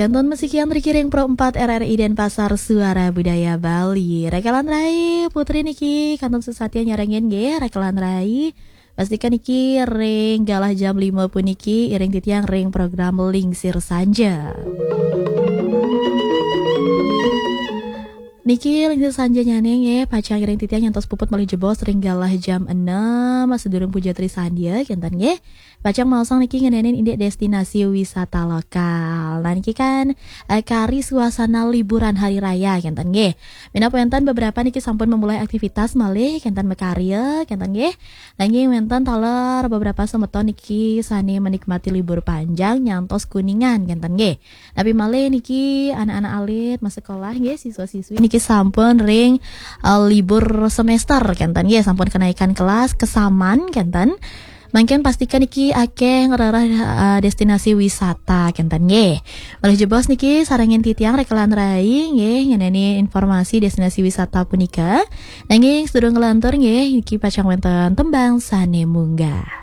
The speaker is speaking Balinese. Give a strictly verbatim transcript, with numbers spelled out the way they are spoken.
Kantun masikian riki ring Pro empat R R I Denpasar, Suara Budaya Bali. Rekan rai, Putri niki kantun sesatya nyarengin nggih, rekan rai. Pastikan niki ring galah jam lima puniki iring titiang ring program Lingsir Sanja. Niki Lingsir Sanja nyane nggih, pacang iring titiang nyantos puput malih jebos ring galah jam enam, sadurung puja Tri Sandya, kenten nggih. Pacang maosang niki ngenenin indik destinasi wisata lokal. Nah, niki kan, eh, kari suasana liburan hari raya, kenten nggih. Minab wenten beberapa niki sampun memulai aktivitas malih, kenten makarya, kenten nggih. Nanging wenten taler beberapa semeton niki sane menikmati libur panjang nyantos Kuningan, kenten nggih. Napi malih niki anak-anak alit masekolah nggih, siswa-siswi niki sampun ring, eh, libur semester, kenten nggih, sampun kenaikan kelas, kesaman, kenten. Mangkin pastikan niki akeh ngrereh, eh, destinasi wisata, kenten nggih. Malih jebos niki sarengin titiang rekan rai nggih ngeneni informasi destinasi wisata punika. Nanging sedurung nglantur nggih, niki pacang wenten tembang sane munggah.